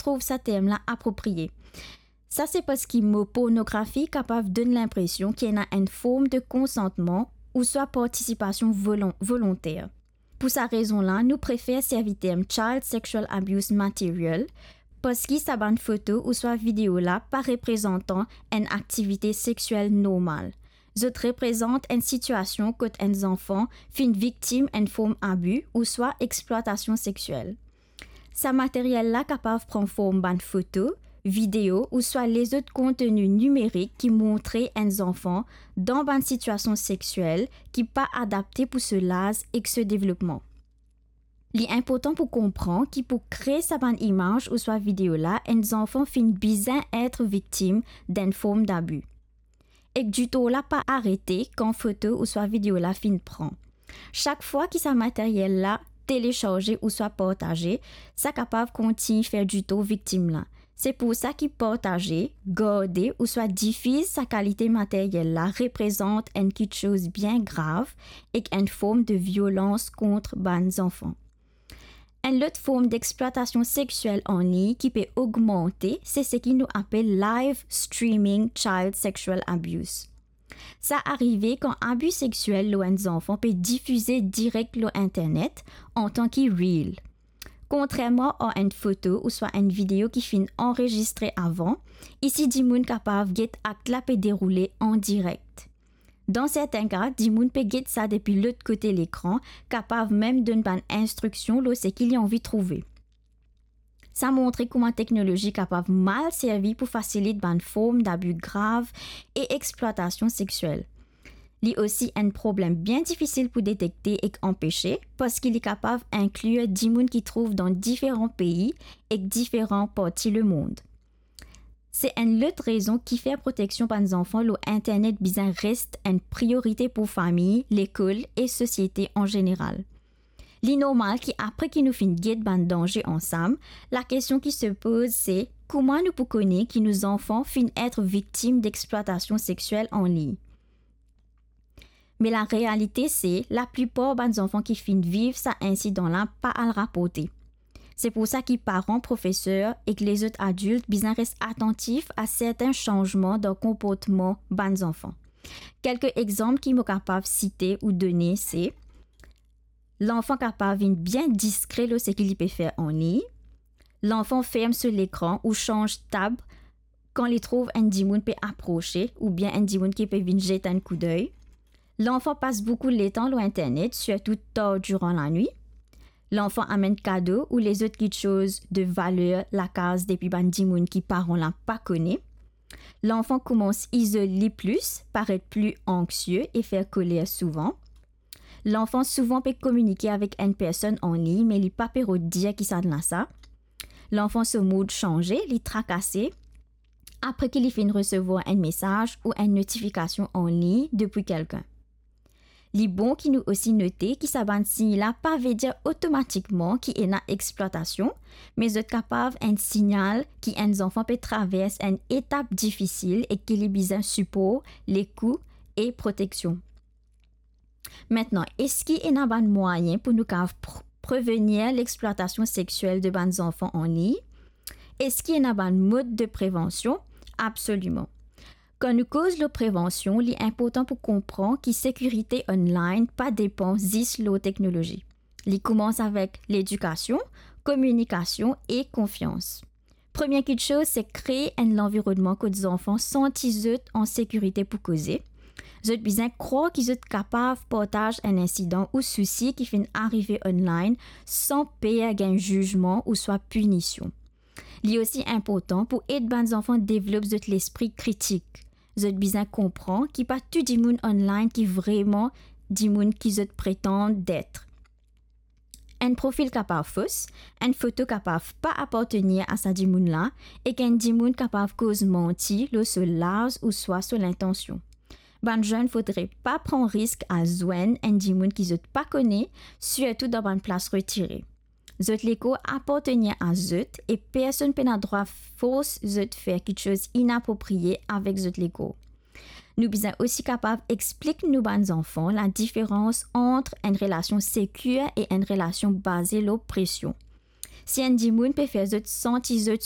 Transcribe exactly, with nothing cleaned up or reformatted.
trouv sa term la apropriye. Sa se parski mo pornografi kapav donn linpresion ki ena enn form de konsantman ouswa partisipasion volon-, volonter. Pou sa rezon la, nou prefer servi term child sexual abuse material, parski sa bann foto ouswa video la pa reprezantan enn aktivite sexiel normal. Zot reprezant enn sitiasion kot enn zanfan finn viktim enn form abi ouswa explwatasion sexiel. Sa materyel la kapav pran form bann foto, video ouswa lezot konteni nimerik ki montre enn zanfan dan bann sitiasion sexiel ki pa adapte pou so laz ek so devlopman. Li inportan pou konpran ki pou kree sa bann imaz ouswa video la, enn zanfan finn bizin et viktim d'enn form d'abus. Ek ditor la pa arete kan foto ouswa video la finn pran. Sak fwa ki sa materyel la telesarze ouswa partaze, sa kapav kontign fer ditor viktim la. Se pou sa ki partaze, garde ouswa difiz sa kalite materyel la reprezant enn kiksoz bien grav ek enn form de violans kont bann zanfan. Enn lot form dexplwatasion sexiel an lign ki pe ogmante, se seki nou apel live streaming child sexual abuse. Sa arive kan abi sexiel lor enn zanfan pe difize direk lor internet antan ki reel. Kontrerman a enn foto ouswa enn video ki finn anrezistre avan, isi dimoun kapav get akt la pe deroule an direk. Dan sertin ka, dimoun pe get sa depi lot kote lekran, kapav mem donn bann instriksion lor seki li anvi trouve. Sa montre kouma teknolozi kapav mal servi pou fasilit bann form dabi grav e explwatasion sexiel. Li osi enn problem bien difisil pou detekte ek anpese, parski li kapav inklir dimoun ki trouv dan diferan pei ek diferan parti lemond. Se enn lot rezon ki fer proteksion bann zanfan lor internet bizin res enn priorite pou fami, lekol e sosiete an zeneral. Li normal ki apre ki nou finn get bann danze ansam, lakestion ki se poz se, kouma nou pou kone ki nou zanfan finn et viktim dexplwatasion sexiel an lign? Me larealite se, laplipar bann zanfan ki finn viv sa insidan la pa al raporte. Se pou sa ki paran, profeser ek lezot adilt bizin res atantif a sertin sanzman dan konportman bann zanfan. Kelke exanp ki mo kapav site ou done se, lanfan kapav vinn bien diskre lor seki li pe fer an lign. Lanfan ferm so lekran ou sanz tab kan li trouv enn dimoun pe aprose oubien enn dimoun ki pe vinn zet enn koudey. Lanfan pas boukou letan lor internet, sirtou tar diran lanwit. Lanfan amenn kado ou lezot kiksoz de valer lakaz depi bann dimoun ki paran la pa kone. Lanfan koumans izol li plis, paret pli anxie e fer koler souvan. Lanfan souvan pe kominike avek enn personn an lign, me li pa pe rod dir kisannla sa. Lanfan so mood sanze, li trakase apre ki li finn resevwar enn mesaz ou enn notifikasion an lign depi kelkenn. Li bon ki nou osi note ki sa bann sign la pa vedir otomatikman ki ena explwatasion, me zot kapav enn signal ki enn zanfan pe travers enn etap difisil e ki li bizin sipor, lekout e proteksion. Aster, eski ena bann mwayin pou nou kapav pr-, prevenir lexplwatasion sexiel de bann zanfan an lign? Eski ena bann mod de prevansion? Absoliman. Kan nou koz lor prevansion, li inportan pou konpran ki sekirite online pa depan zis lor teknolozi. Li koumans avek ledikasion, kominikasion e konfians. Premie kiksoz, se kree enn lanvironnman kot zanfan santi zot an sekirite pou koze. Zot bizin krwar ki zot kapav partaz enn insidan ou sousi ki finn arive online san per gagn zizman ouswa pinision. Li osi inportan pou ed bann zanfan devlop zot lespri kritik. Zot bizin konpran ki pa tou dimoun online ki vremem dimoun ki zot pretann det. Enn profil kapav fos, enn foto kapav pa apartenir a sa dimoun la, ek enn dimoun kapav koz manti lor so laz ouswa so lintansion. Bann zenn fodre pa pran risk al zwenn enn dimoun ki zot pa kone, sirtou dan bann plas retire. Zot lekor apartenir a zot e personn pena drwa fors zot fer kiksoz inapropriye avek zot lekor. Nou bizin osi kapav explik nou bann zanfan ladiferans ant enn relasion sekir e enn relasion baze lor presion. Si enn dimoun pe fer zot santi zot